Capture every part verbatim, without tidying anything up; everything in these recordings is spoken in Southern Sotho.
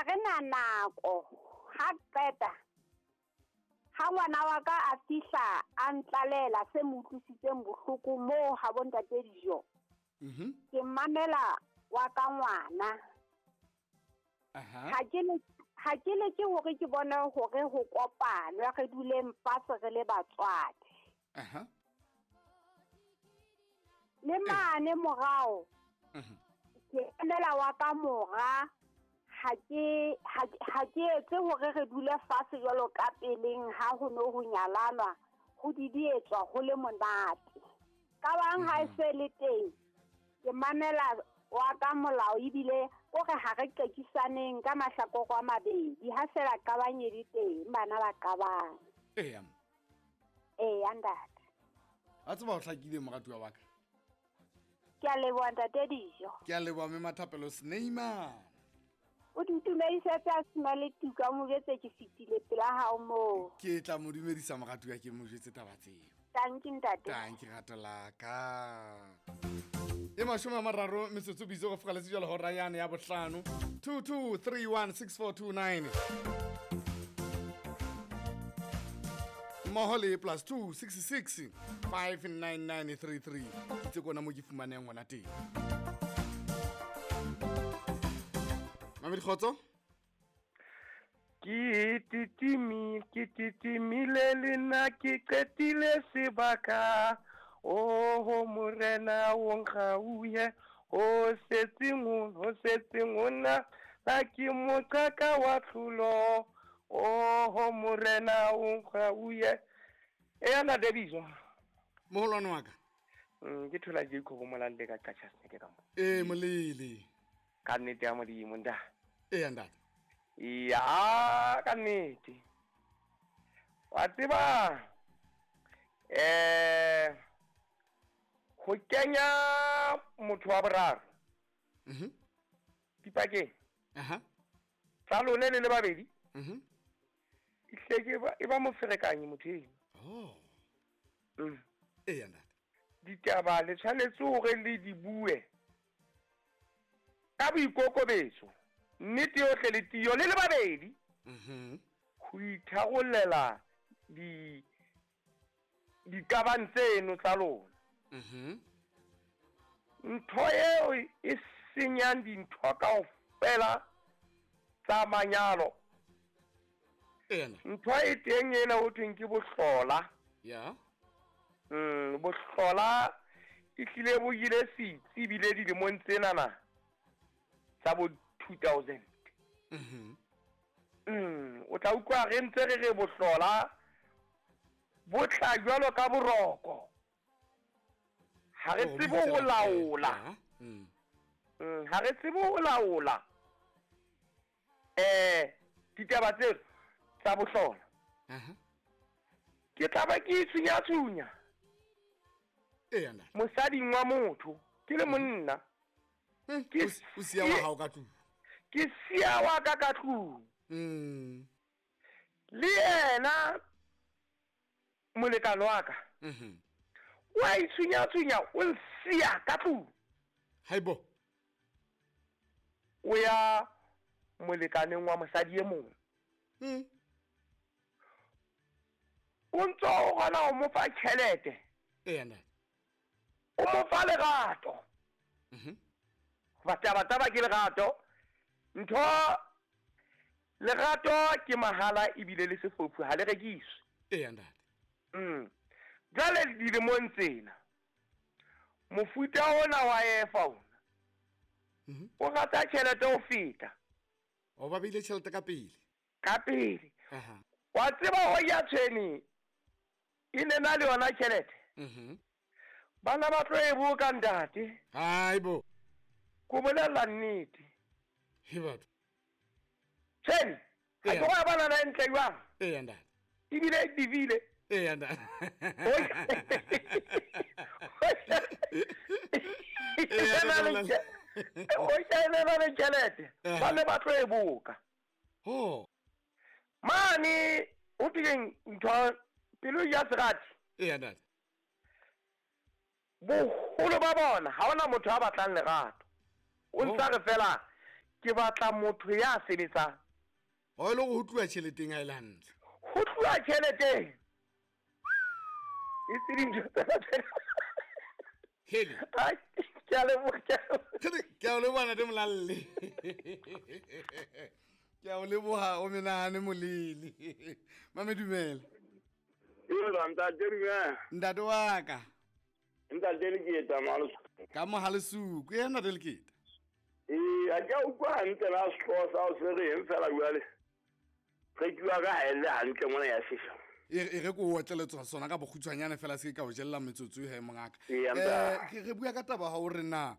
Ha re na nako ha qeta ha ngwana wa ka a fihla a ntlalela se mo utlwisitseng bohloko moo ha bo ntate Dijo. Mhm. Ke mamela wa ka ngwana. Aha. Ha ke le ha ke le ke hore ke bone hore ho kopanwe re duleng fatshe re le batswadi. Aha. Le mane morao. Mhm. Ke emela wa ka mora ha ke ha ke etse hore re dule fatshe jwalo ka peleng ha ho no ho nyalanwa ho didietswa ho le monate. Ka bang ha e se le teng ke mamela wa ka molao ebile o re ha re qekisaneng ka mahlakore a mabedi ha fela qabang e le teng bana ba qabang. Eya. Eya ntate. A tseba o hlakile moratuwa wa ka. Ke a leboha ntate Dijo. Ke a leboha mme Mathapelo Sneima. O di dumedisetse a sena le tuka o mo jwetse ke fetile pela hao moo. Ke tla mo dumedisa moratuwa ke mo jwetse taba tseo. Tanki ntate. Tanki rato la ka. E mashome a mararo metsotso bitso go fokaletse jalo hora yane ya bohlano. two two three one six four two nine. Mmoho le plus two six six five nine nine three three. Ke tse kona mo ke fumaneng ngwana teng. Mamedi Kgotso? Ke titimi, ke titimile le nna ke qetile sebaka. Oho morena o nkgauye, ho setseng ho setseng ho nna la ke moqhaka wa tlholo. Oho morena o nkgauye. Eya na Debiso. Moholwane wa ka. Mm, ke thola Jacob Molande ka Qacha Snake ka mo. Eh molele. Ka nnete ya Modimo nda. Eya ntate. Ya ka nnete. Wa tseba eh ho kenya motho wa boraro. Mhm. Dipakeng. Aha. Tsa lone le le babedi. Mhm. Ihle ke ba e ba moferekanyi motho eno. Oh. Mm. Eya ntate. Ditaba le tshwanetse hore le di bue ka boikokobetso, nnete yohle le tiyo le le babedi. Mhm. Ho itharollela di diqabang tseno tsa lona. Mhm. Ntho eo e senyang dintho kaofela tsa manyalo. Ena. Ntho e teng ena ho thweng ke bohlola. Ya. Mm, bohlola e hlile bo ile setsi ebile dilemong tsenana tsa bo two thousand. Mhm. Mm, o tla utlwa re ntse re re bohlola bo tla jwalo ka boroko. Ha re Oh, tsebe ho bitsa laola. Mm. Mm, ha re tsebe ho laola. Eh, ditaba tseo tsa bohlola. Aha. Ke tla ba ke itshunya-tshunya. Eya ntate. Mosading wa motho, ke le monna. Mm, Ke o siya wa hao ka tlung. Ke siya wa ka ka tlung. Mm. Le yena molekane wa ka. Mhm. Wa itshunya-tshunya, o nsiya ka tlung. Haibo. O ya molekaneng wa mosadi e mong. Mm. O ntso o kgona ho mo fa tjhelete. Eya ntate. O mo fa lerato. Mhm. Hoba taba taba ke lerato. Ntho lerato ke mahala ebile le sefofu ha le rekiswe. Eya ntate. Mm. Jwale dilemong tsena mofuta ona wa efa ona. Mhm. O rata tjhelete ho feta. O ba beile tjhelete ka pele. Ka pele. Aha. Wa tseba ho ya tshweni e ne na le yona tjhelete. Mhm. Bana ba tlo e boka ntate. Haibo. Ko bolella nnete. He batho. Tshweni, ha Eya. ke wa bana na ntle jwang? Eya ntate. Ebile e divile. Eya ntate. O shebela le tjhelete. Ba ne ba tlo e boka. Oh. Mane o teng ntho pelo ya serati. Eya ntate. Boholo ba bona ha hona motho a batlang lerato. O ntsa re fela Ke batla motho ya sebetsang. O ile go tluwa tšheleteng ha ile hantle. Ho tluwa tšheleteng. E tseng tsena. Hele. Ai, ke a leboha. Ke a leboha ntate Molalle. Ke a leboha o menahane molele. Mame dumela. Ee, ntate dumela. Ntate wa ka. Ntate Leketa malo. Ka mo halesuku e ntate Leketa. Ee, a ke utlwa hantle la sehlooho sa o se reng fela jwale. Re tluwa ka ha e le hantle mona ya sesha. E re ko otleletswa sona ka bokgutshwanyane fela se ka o jella metsotso he mongaka. Eh ke re bua ka taba ha o re na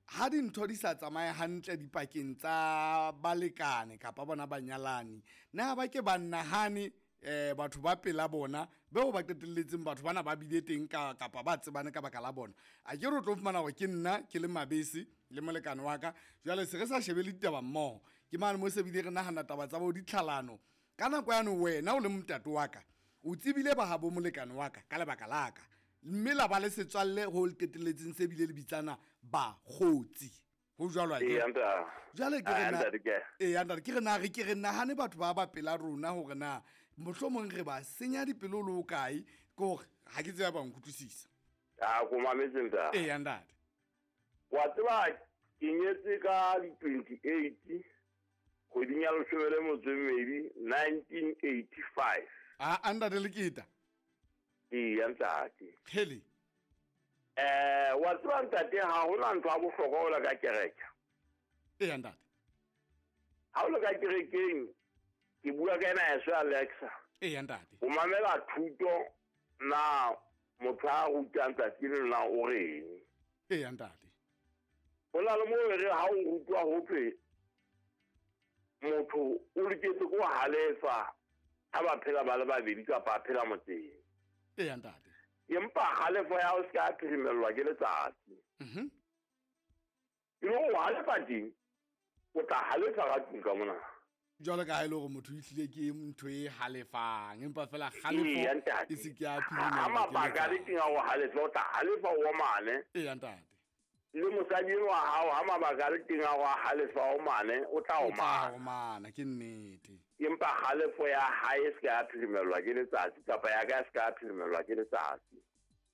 ha dintho di sa tsamaye hantle dipakeng tsa balekane kapa bona banyalani na ba ke ba nahane eh batho ba pela bona beo ba qetelletseng batho bana ba bile teng ka kapa ba tsebane ka baka la bona. A ke re tlo fumana hore ke nna ke le mabese le molekane wa ka jwale se re sa shebele ditaba mmoho ke mane mo se bile re nahana taba tsa bo ditlhalano ka nako ya no wena o le motate wa ka o tsebile ba habo molekane wa ka ka lebaka la ka mme la ba le setswalle ho le qetelletseng se bile le bitsana ba kgotsi ho jwalo a ke jwale ke re na e ntate ke re na re ke re nahane batho ba ba pela rona hore na mohlomong re ba senya dipelo le o kae ke hore ha ke tseba ba nkutlwisisa. A ko mametse ntate. E ntate wa tseba ke nyetse ka di twenty-eight kgweding ya leshome le motso e mmedi nineteen eighty-five. A ntate Leketa. Ee ntate. Hele. Eh wa tseba ntate ha hona ntho ya bohlokwa o la ka kereke. Ee ntate. Ha o le ka kerekeng ke bua ka ena ya Alexa. Ee ntate. O mamela thuto na motho a rutang tsatsi le na o reng. Ee ntate. O la le mo re ha o rutwa ho thwe motho o loketse go halefa ha ba phela ba le babedi kapa phela motseng. Ee ntate. Empa halefa ya o se ka phirimellwa ke letsatsi. Mhm. E le ho halefa teng o tla halefa ka tlung ka mona. Jwalo ka ha ile hore motho o itlile ke ntho e halefang empa fela halefo e se ke a phirimellwa. Ha mabaka le teng a o halefa o tla halefa o mane. Ee ntate. Le mosadi wa hao ha mabaka le teng a go halefa o mane o tla o mane. O mane ke nnete. Empa halefo ya hae se ka phirimellwa ke letsatsi kapa ya ka se ka phirimellwa ke letsatsi.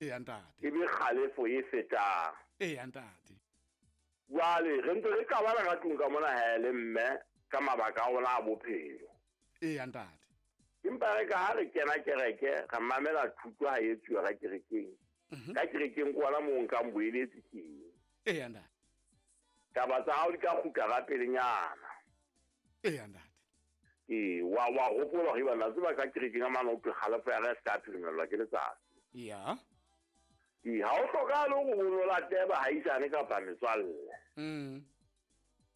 Ee ntate. E be kgalefo e fetang. Ee ntate. Jwale re ntse re qabana ka tlung ka mona ha le mme ka mabaka a ona a bophelo. Ee ntate. Empa re ka ha re kena kereke re mamela thuto ha e tsuwa ka kerekeng. Ka kerekeng kwa mo nkang boeletsi teng. Ee ntate. Taba tsa hao di ka kgutla ka pelenyana. Ee ntate. Ee wa wa hopola hore bana tseba ka kerekeng ka mane o tlo kgalefo ya ka se ka phirimellwa ke letsatsi. Ya. Ee ha o hlokahale hore o late bahaisane kapa metswalle. Mm.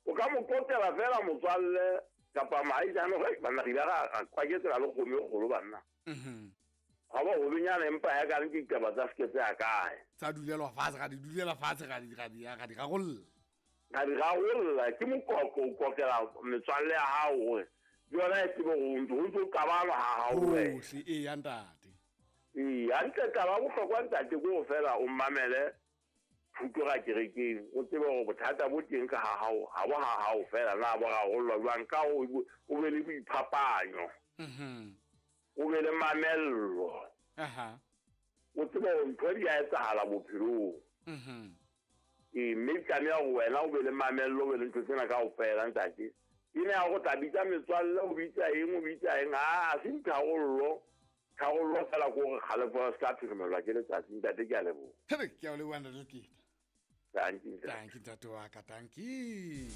O ka mo qoqela fela motswalle kapa mohaisane hore banna re ile ra kwaketsela le kgomo e kgolo banna. Mhm. Ha ba hobenyana empa ya ka ke ditaba tsa seke tse ya kae. Tsa dulelwa fatshe ga di dulela fatshe ga di ga di ga di rarolla. Ga di rarolla ke moqoqo o qoqela metswalle ya hao hore yona e tsebe hore o ntse o qabana ha hao wena. Hohle ee ntate. Ee hantle taba bohlokwa ntate ke ho fela o mamele thuto ka kerekeng o tsebe hore bothata bo teng ka ha hao ha bo ha hao fela na bo rarollwa jwang ka o be le boiphapanyo. Mhm. O be le mamello. Aha. O tsebe hore ntho di a etsahala bophelong. Mhm. Ee mme tlameha hore wena o be le mamello o be le ntho tsena kaofela ntate. E ne ya go tla bitsa metswalle o bitsa eng o bitsa eng ha a se ntharollo. Tharollo fela ko gore kgalefo se ka phirimellwa ke letsatsi ntate ke a leboha. Hele ke a o leboha ntate Leketa. Dankie ntate. Dankie ntate wa ka dankie.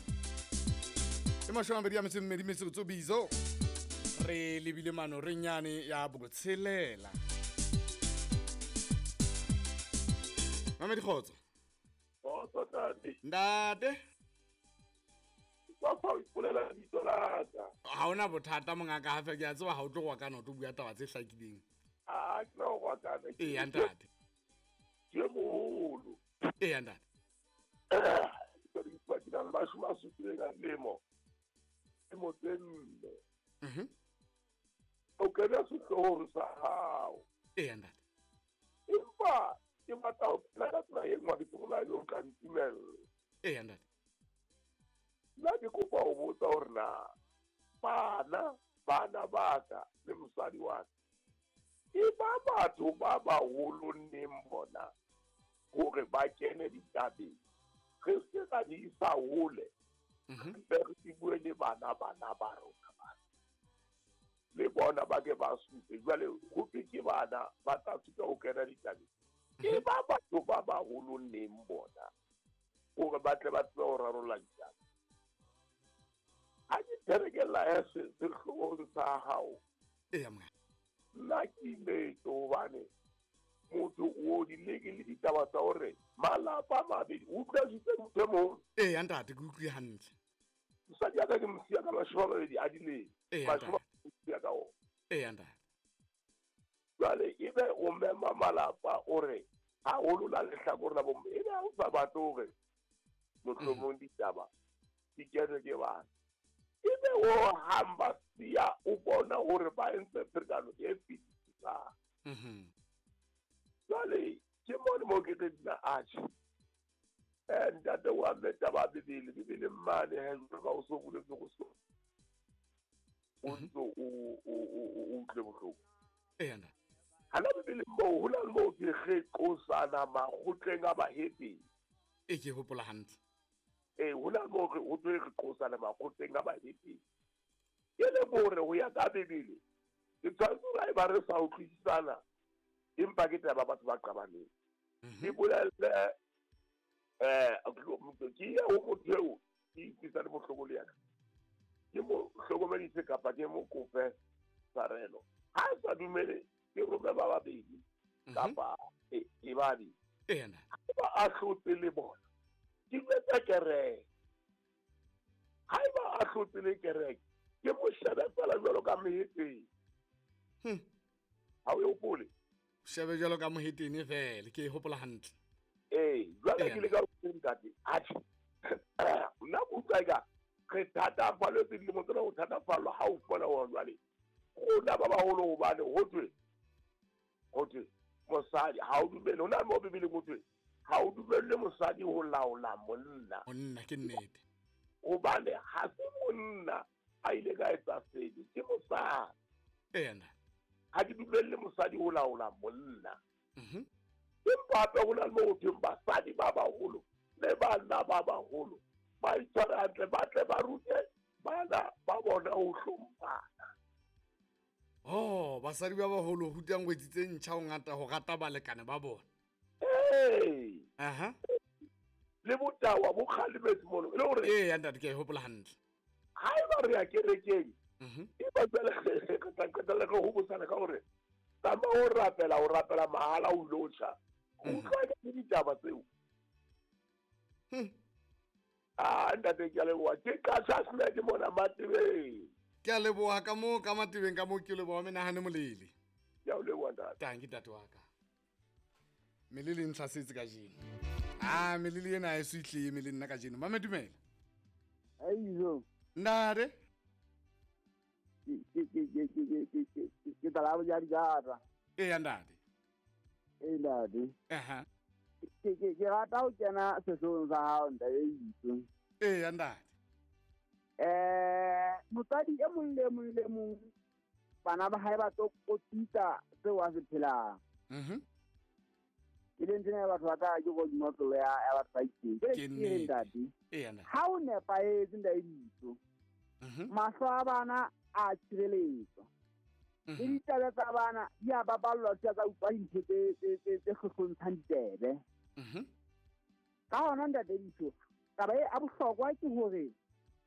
E mashome a mabedi a metso e mmedi metsotso bizo. Re lebile mano re nyane ya botshelela. Mame dikgotso. Kgotso ntate. Ntate. Ba fa o ipolela lebitso la ka. Ha hona bothata mongaka ha fe ke a tseba ha o tlo go kana o tlo bua taba tse hlakileng. A ke no go kana. Ee ntate. Ke moholo. Ee ntate. Ke re ke na le mashome a supileng a dilemo. Ke motse nne. Mhm. O kena sehloohong sa hao. Ee ntate. Empa ke batla ho phela ka tsela e nngwe ke tsela eo o ka ntumella. Ee ntate. Nna ke kopa ipotsa hore na bana bana ba ka le mosadi wa ka e ba batho ba baholo neng bona hore ba kene ditabeng, re se ka di isa hole, re re bue le bana bana ba rona bana le bona ba ke ba supe. Jwale ho thwe ke bana ba tla supa ho kena ditabeng, e ba batho ba baholo neng bona hore ba tle ba tsebe ho rarolla ditaba. Ha ke therekela ya sehloohong sa hao, eya mongaka, nna ke imetse hobane motho o di leke le ditaba tsa hore malapa a mabedi o utlwisitse motho e moholo. Eya ntate, ke utlwe hantle. Mosadi ya ka ke mo siya ka mashome a mabedi a dilemo, Eya, mashome a mabedi ka ona. Eya ntate. Jwale ebe o mema malapa o re haholo la lehlakore la bomme, ebe ha o sa batle hore mohlomong ditaba di kenwe ke bana, ebe o hang ba siya o bona hore ba entse pherekano e fetisisang. Mhm. Jwale ke mone mo ke reng nna atjhe, eh ntate wa mme taba ya Bibele, Bibele mane he jwalo ka o so boletse go so o ntso o o o utlwe bohloko. Eya ntate. Hana Bibele moo ho na le moo ke re qosana makgotleng a bahedeni. E ke hopola hantle. Eh ho na le moo re ho thwe re qosana makgotleng a bahedeni. Ke le hore ho ya ka Bibele ke tshwanetse hore haeba re sa utlwisisana, empa ke taba batho ba qabaneng. Ke bolelle eh ke ye ho motho eo ke utlwisane bohloko le yena, ke mo hlokomedise kapa ke mo kope tshwarelo. Ha a sa dumele, ke rome ba babedi kapa e e babedi. Eya ntate. Haeba a hlotse le bona, ke jwetsa kereke. Haeba a hlotse le kereke, ke mo shebe feela jwalo ka mohetene. Hmm. Ha o e hopole? Shebe jwalo ka mohetene feela, ke e hopola hantle. Ee, jwale Eya ke le ka ho ntate, atjhe, nna ke utlwa eka re thatafalletswe dilemo tsena ho thatafallwa ha o fumana hore jwale rona ba baholo hobane ho thwe, ho thwe mosadi ha o dumele, ho na le moo Bibeleng ho thwe ha o dumelle mosadi ho laola monna. Monna ke nnete. Hobane ha se monna a ile ka etsa sebe, ke mosadi. Eya ntate. Ha ke dumelle mosadi ho laola monna. Mhm. Empa hape ho na le moo ho thweng basadi ba baholo le banna ba baholo ba itshware hantle, ba tle ba rute bana ba bona ho hlomphana. Oh, basadi ba baholo rutang ngwetsi tse ntjha ho ngata ho rata balekane ba bona. Ee. Aha. Le botawa bo kgalemetse mono, e le hore Eya ntate, ke a e hopola hantle. Haeba re ya kerekeng, Mhm. e ba jwale re tla qetella re hobosana ka hore tsamaya o rapela, o rapela mahala o ilo tjha. Ho Mhm. utlwa ke ditaba tseo. Hmm. Ah, ntate, ke a leboha. Ke Qasha Smith mona Matebeng. Ke a leboha ka moo ka Matebeng, ka moo ke leboha menahane molele. Ke a o leboha ntate. Tanki ntate wa ka. Melele e ntlhasetse kajeno. Ah, melele ena ha e so ihle e eme le nna kajeno. Mame dumela. Aizo. Ntate. Ke ke ke ke ke ke ke ke tla ba ja dijata. Eya ntate. Ee ntate. Aha. Ke ke ke rata ho kena sehloohong sa hao ntate Itso. Eya ntate. Eh motswadi e mong le mong le mong bana ba hae ba tlo kotisa seo a se phelang. Mhm. Ke le ntsena batho ba ka ke go dimotlolo ya ya batho ba itseng. Ke Ke ke nnete. ntate. Eya ntate. Ha o nepahetse ntate Itso. Mhm. Mahlo a bana a tshireletswa. Le Mhm. ditaba tsa bana di a baballwa di a tsa utlwa dintho tse tse tse tse hlohlontshang ditsebe. Mhm. Ka hona ntate Ditso, taba e a bohlokwa ke hore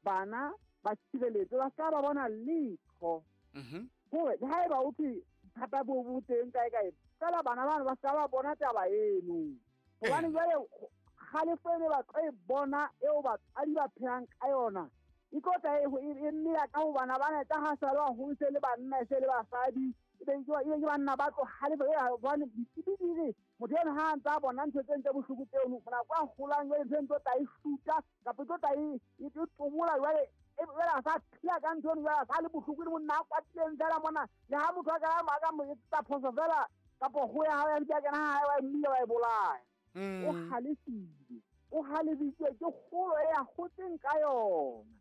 bana ba tshireletswe, ba ska ba bona letho. Mhm. Hore le haeba o thwe bothata bo bo teng kae kae, feela bana bana ba ska ba bona taba eno. Hobane Eh. jwale kgalefo ene ba tlo e bona eo batswadi ba phelang ka yona, e tlo tla e e mela ka ho bana bana, e tla ha sa le baholo, se le banna, se le basadi, e be ke e be ke banna ba tlo halefa. E hobane ditsebi di re motho eno ha a ntse a bona ntho tse ntse bohloko tseno, nako a holang jwale ntho e ntse tla e shuta kapa e tlo tla e e tomola jwale, e jwale a sa phela ka ntho eno, jwale a sa le bohloko le monna a kwatileng fela mona. Le ha motho a ka a ka mo etsetsa phoso fela kapa ho ya ha ya ntse a kena ha hae, wa e mmila, wa e bolaya. O Mm. halefile, o halefisitswe ke kgolo e a hotseng ka yona.